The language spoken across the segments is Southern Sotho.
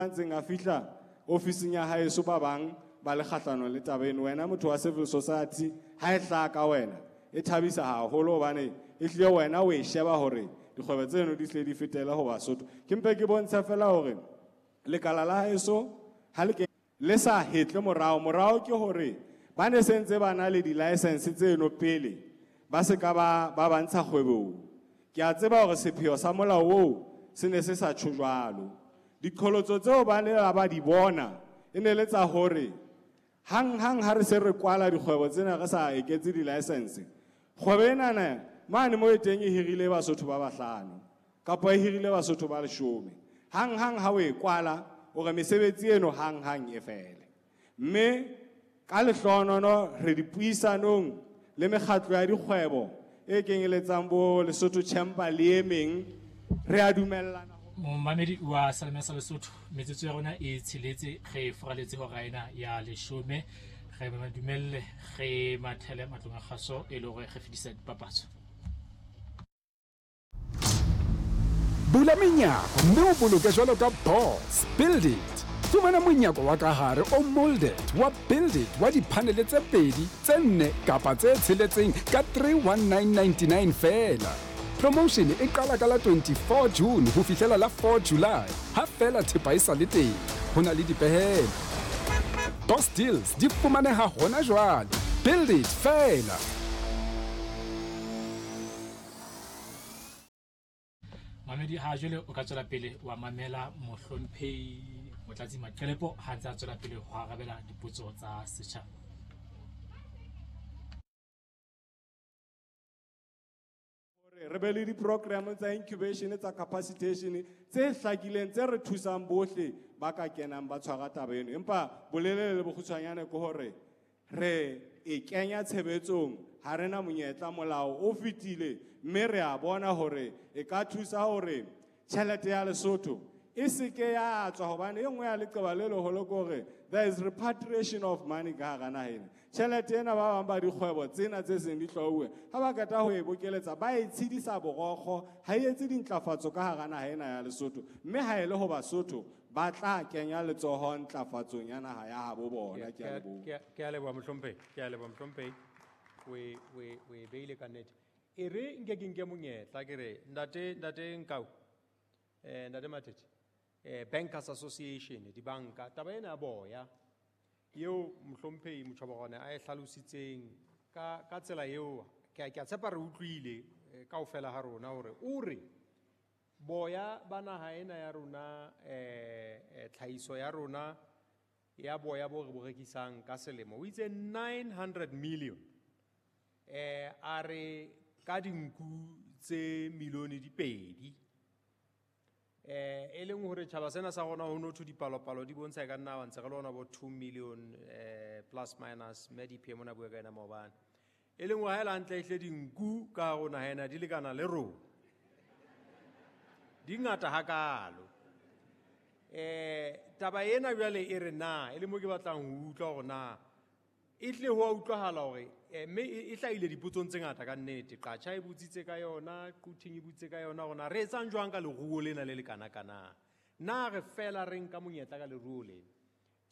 Ntseng a fihla ofising ya haeso, ba bang ba le kgahlanong le taba eno. Wena motho wa civil society, ha e hlaha ka wena e thabisa haholo, hobane e hlile wena o e sheba hore dikgwebo tseno di hle di fetele ho Basotho. Ke mpe ke bontshe fela hore lekala la haeso ha le ke le sa hetle morao. Morao ke hore ba ne sentse ba na le di-license tseno pele ba se ka ba ntsha kgwebong. Ke a tseba hore sepheo sa molao oo se ne se sa tjho jwalo. Diqholotso tseo ba ne ba di bona e ne le tsa hore hang hang ha re se re kwala dikgwebo tsena, re sa eketse di-license, kgwebo enana mane mo e teng e hirile Basotho ba 5 kapa e hirile Basotho ba 10. Hang hang ha o e kwala, o re mesebetsi eno hang hang e fele. Mme ka lehlohonono re dipuisanong le mekgatlo ya dikgwebo e kenyeletsang bo Lesotho Chamber le e meng, re a dumellana. Momamedi wa Salome sa Lesotho, metsotso ya rona e tsheletse, re furaletse hora ena ya 10. Re ba dumelle re mathele matlong a kgaso e le hore re fetisa dipapatso. Bula menyako mme o boloke jwalo ka boss. Build it. Fumana monyako wa ka hare o molded wa Build It wa diphanele tse 2, tse 4 kapa tse 6 ka 31999 feela. Promotion e qala ka la 24 June ho fihlela la 4 July. Ha feela thepa e sa le teng. Ho na le dipehelo. Boss deals di fumaneha hona jwale. Build it feela. Mamedi, ha jwale o ka tswela pele wa mamela mohlomphehi Motlatsi Maqelepo ha ntse a tswela pele ho arabela dipotso tsa setjhaba. Hore re be le di-program tsa incubation, tsa capacitation tse hlakileng, tse re thusang bohle ba ka kenang ba tshwara taba eno. Empa bolelele le bokgutshwanyane ke hore re e kenya tshebetsong, ha rena monyetla, molao o fetile, mme re a bona hore e ka thusa hore tjhelete ya Lesotho e seke ya tswa, hobane e nngwe ya leqeba le leholo ke hore there is repatriation of money ka hara naha ena. Tjhelete ena ba bang ba dikgwebo tsena tse seng di hlwauwe, ha ba qeta ho e bokeletsa ba e tshedisa borokgo, ha e etse dintlafatso ka hara naha ena ya Lesotho. Mme ha e le ho Basotho ba tla kenya letsoho ntlafatsong ya naha ya habo bona. Ke a leboha. Ke a leboha mohlomphehi, ke a leboha mohlomphehi. O e beile ka nnete. E re nke ke nke monyetla ke re ntate Nkau, ntate Matete, Bankers Association, dibanka, taba ena ya boya eo mohlomphehi Motjhobogwane a e hlalositseng ka tsela eo, ke a tshepa re utlwile kaofela ha rona hore o re boya ba naha ena ya rona, tlhahiso ya rona ya boya bo re bo rekisang ka selemo, o itse 900 million. A re ka dinku tse milione di 2. E leng hore tjhaba sena sa rona ho no thwe dipalopalo di bontsha e ka nna ba ntse re le hona bo 2 million, plus minus, mme DPM o na bua ka ena maobane. E leng hore ha e le hantle ehle dinku ka hare ho naha ena di lekana le rona. Di ngata hakalo. Taba ena jwale e re na, e le mo ke batlang ho utlwa hore na e tle ho a utlwahala hore, mme e hlahile dipotsong tse ngata ka nnete. Qatjha e botsitse ka yona, Quthing e botsitse ka yona hore na re etsang jwang ka leruo lena le le kanakana. Na re fela re nka monyetla ka leruo lena?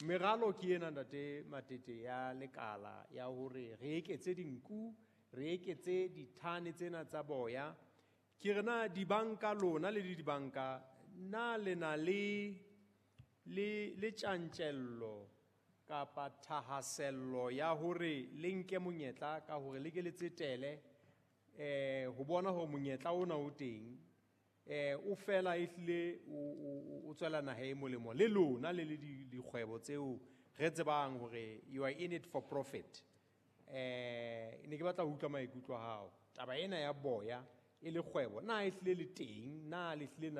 Meralo ke ena ntate Matete ya lekala ya hore re eketse dinku, re eketse dithane tsena tsa boya. Ke re na dibanka lona le dibanka, na le na le tjantjello kapa thahasello ya hore le nke monyetla ka hore le ke le tsetele, ho bona hore monyetla ona o teng, o fela ehlile o tswela naha e molemo le lona le le dikgwebo tseo re tsebang hore you are in it for profit. Ne ke batla ho utlwa maikutlo a hao. Taba ena ya boya e le kgwebo, na ehlile le teng, na le hlile na